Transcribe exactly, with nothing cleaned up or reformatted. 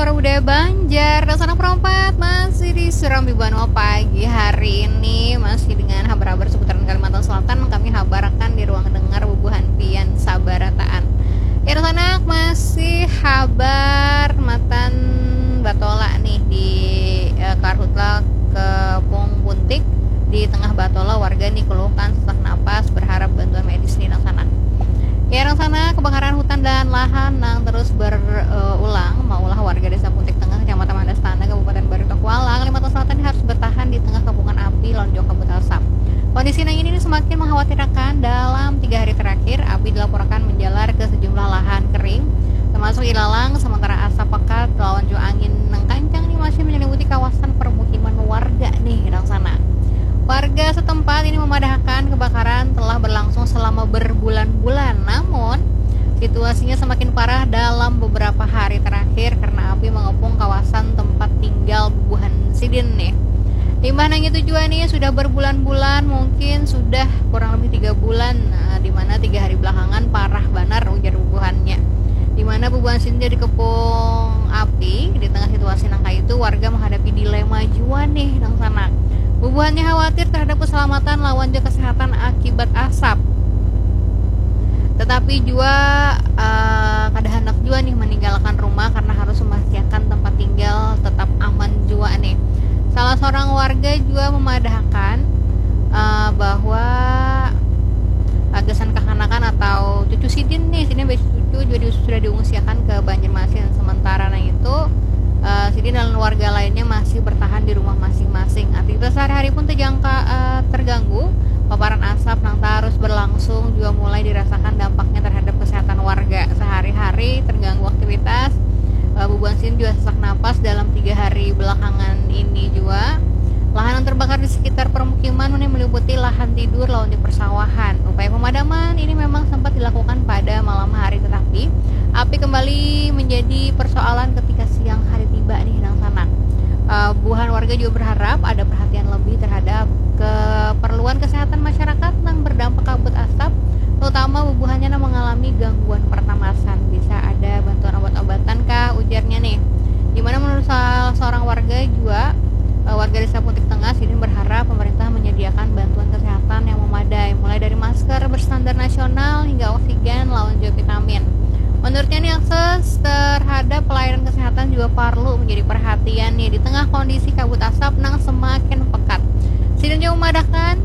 Para budaya Banjar, dasana perompat masih di Surambi Banua pagi hari ini, masih dengan habar-habar seputaran Kalimantan Selatan. Kami habarakan di ruang dengar bubuhan pian sabarataan. Ya, sanak, masih habar matan batola nih di eh, Karhutla Kepung Buntik. Di tengah batola, warga nih keluhkan sesak napas, berharap bantuan medis nih, sanak. Ya, sanak, kebakaran hutan dan lahan nang terus berulang maulah warga Desa Buntik Tengah, Kecamatan Mandastana, Kabupaten Barito Kuala, Kalimantan Selatan harus bertahan di tengah kepungan api lawan jua kabut asap. Kondisi nang ini semakin mengkhawatirkan. Dalam tiga hari terakhir, api dilaporkan menjalar ke sejumlah lahan kering, termasuk ilalang, sementara asap pekat lawan jua angin nang kancang nih masih menyelimuti kawasan permukiman warga nih, sanak. Warga setempat ini memadahkan kebakaran telah berlangsung selama berbulan-bulan, namun situasinya semakin parah dalam beberapa hari terakhir karena api mengepung kawasan tempat tinggal bubuhan sidin nih. Imbah nang itu jua nih, sudah berbulan-bulan, mungkin sudah kurang lebih tiga bulan, nah, di mana tiga hari belakangan parah banar, ujar bubuhannya. Di mana bubuhan sidin jadi kepung api. Di tengah situasi nang kaitu, warga menghadapi dilema jua nih, sanak. Bubuhannya khawatir terhadap keselamatan lawan jua kesehatan akibat asap. Tetapi jua uh, kada handak jua nih meninggalkan rumah karena harus memastikan tempat tinggal tetap aman jua nih. Salah seorang warga jua memadahkan uh, bahwa uh, gasan kekanakan atau cucu sidin nih, sidin cucu juga sudah diungsiakan ke Banjarmasin. Sementara nang itu, uh, sidin dan warga lainnya masih bertahan di rumah masing-masing. Aktivitas sehari-hari pun terjangka, uh, terganggu. Paparan asap nang terus berlangsung juga mulai dirasakan dampaknya terhadap kesehatan warga. Sehari-hari terganggu aktivitas. Uh, bubuhan sidin juga sesak napas dalam tiga hari belakangan ini juga. Lahan yang terbakar di sekitar permukiman ini meliputi lahan tidur lawan di persawahan. Upaya pemadaman ini memang sempat dilakukan pada malam hari, tetapi api kembali menjadi persoalan ketika siang hari tiba nih, sanak. Uh, bubuhan warga juga berharap ada perhatian lebih terhadap keperluan kesehatan masyarakat nang berdampak kabut asap, terutama bubuhannya nang mengalami gangguan pernapasan. Bisa ada bantuan obat-obatan kah, ujarnya nih. Di mana menurut salah seorang warga juga, uh, warga Desa Buntik Tengah, sidin berharap pemerintah menyediakan bantuan kesehatan yang memadai, mulai dari masker berstandar nasional hingga oksigen lawan juga vitamin. Menurutnya nih, akses terhadap pelayanan kesehatan juga perlu menjadi perhatian nih di tengah kondisi kabut asap nang semakin pekat. Sidin juga memadahkan